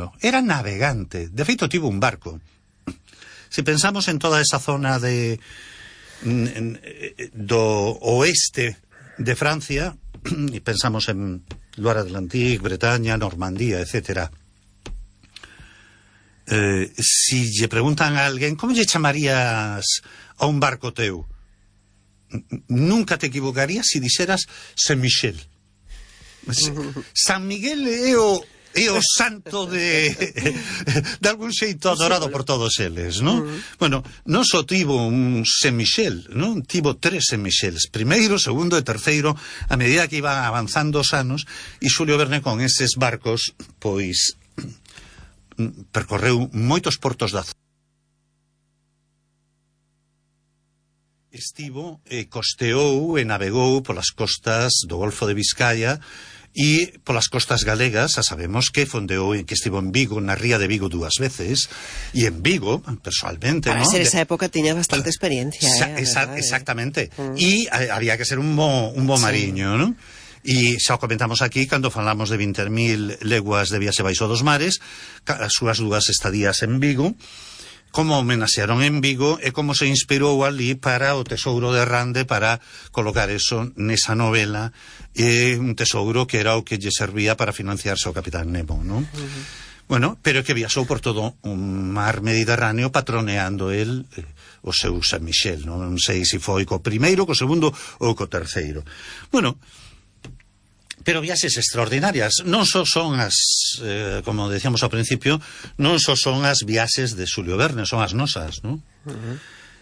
mariño, era navegante. De feito, tivo un barco. Se pensamos en toda esa zona do oeste de Francia, e pensamos en Loire Atlantique, Bretaña, Normandía, etcétera. Si lle preguntan a alguén como lle chamarías a un barco teu, nunca te equivocarías si dixeras Saint-Michel. San Miguel é o santo de algún xeito adorado por todos eles, non? Bueno, non só tivo un Saint-Michel, non? Tivo 3 Saint-Michels, primeiro, segundo e terceiro, a medida que iban avanzando os anos, e Xulio Verne con eses barcos, pois, percorreu moitos portos da zona. Estivo, costeou e navegou polas costas do Golfo de Vizcaya e polas costas galegas. A sabemos que fondeou, que estivo en Vigo, na ría de Vigo 2 veces, e en Vigo, personalmente, para ser esa época tiña bastante experiencia. Exactamente. E había que ser un bo mariño, non? E xa o comentamos aquí cando falamos de 20.000 leguas de viaxe baixo dos mares, as súas 2 estadías en Vigo, como homenaxearon en Vigo e como se inspirou ali para o tesouro de Rande, para colocar eso nesa novela, un tesouro que era o que lle servía para financiarse o Capitán Nemo, non? Bueno, pero que viaxou por todo o mar Mediterráneo patroneando el o seu San Michel, non sei se foi co primeiro, co segundo ou co terceiro. Bueno, pero viaxes extraordinarias. Non só son as, como decíamos ao principio, non só son as viaxes de Xulio Verne, son as nosas, non?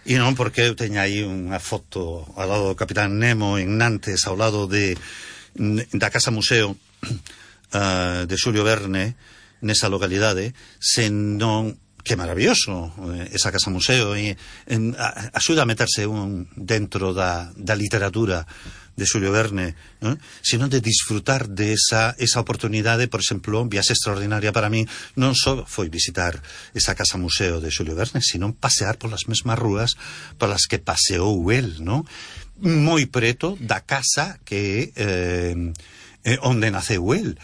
E non porque eu teña aí unha foto ao lado do Capitán Nemo en Nantes, ao lado da Casa Museo de Xulio Verne, nesa localidade, senón que maravilloso esa Casa Museo, e axuda a meterse dentro da literatura de Xulio Verne, ¿no? Sino de disfrutar de esa oportunidade. Por exemplo, viaxe extraordinaria para mí non só foi visitar esa Casa Museo de Xulio Verne, sino pasear polas mesmas rúas polas que paseou el, non? Moi preto da casa que onde naceu el.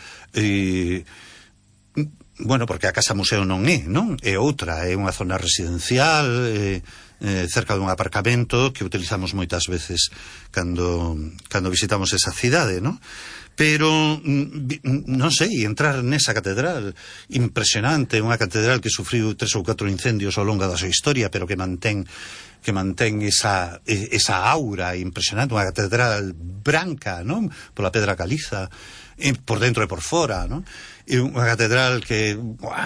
Bueno, porque a Casa Museo non é, non? É outra, é unha zona residencial, cerca dun aparcamento que utilizamos moitas veces cando visitamos esa cidade, non? Pero, non sei, entrar nesa catedral impresionante, unha catedral que sufriu 3 ou 4 incendios ao longo da súa historia, pero que mantén esa aura impresionante, unha catedral branca, non? Pola pedra caliza, por dentro e por fora, non? E unha catedral que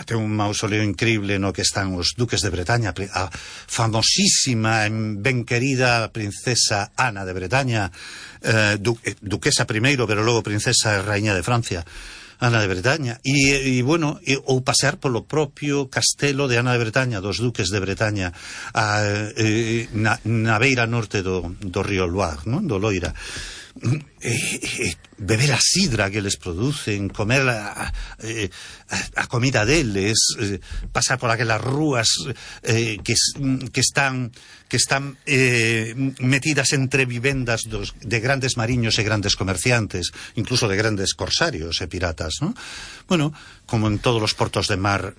ten un mausoleo increíble no que están os duques de Bretaña, a famosísima e ben querida princesa Ana de Bretaña, duquesa primeiro, pero logo princesa e raíña de Francia, Ana de Bretaña, e bueno, ou pasear polo propio castelo de Ana de Bretaña, dos duques de Bretaña, na beira norte do río Loire, non? Do Loira. Beber a sidra que les producen, comer a comida deles, pasar por aquelas rúas que están metidas entre vivendas de grandes mariños e grandes comerciantes, incluso de grandes corsarios e piratas, ¿no? Bueno, como en todos os portos de mar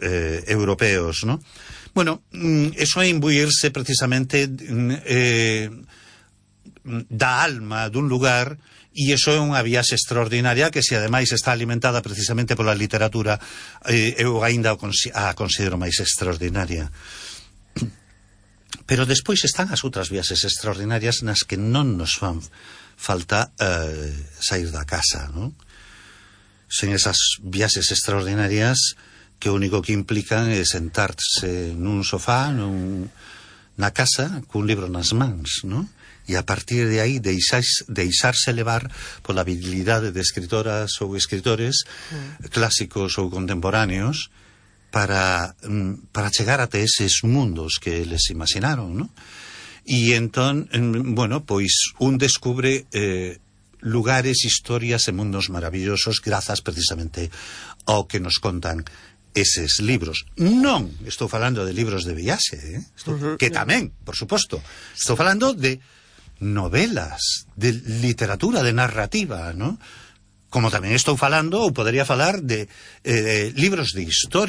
europeos, ¿no? Bueno, eso é imbuirse precisamente da alma dun lugar, e iso é unha viaxe extraordinaria que, se ademais está alimentada precisamente pola literatura, eu aínda a considero máis extraordinaria. Pero despois están as outras viaxes extraordinarias nas que non nos fan falta sair da casa, non? Sen esas viaxes extraordinarias que o único que implican é sentarse nun sofá na casa cun libro nas mans, non? E a partir de aí deixarse levar pola habilidade de escritoras ou escritores clásicos ou contemporáneos para chegar até eses mundos que eles imaginaron, non? E entón, bueno, pois un descubre lugares, historias e mundos maravillosos grazas precisamente ao que nos contan eses libros. Non estou falando de libros de viaxe, que tamén, por suposto. Estou falando de novelas, de literatura, de narrativa, ¿no? Como tamén estou falando, ou podería falar de libros de historia,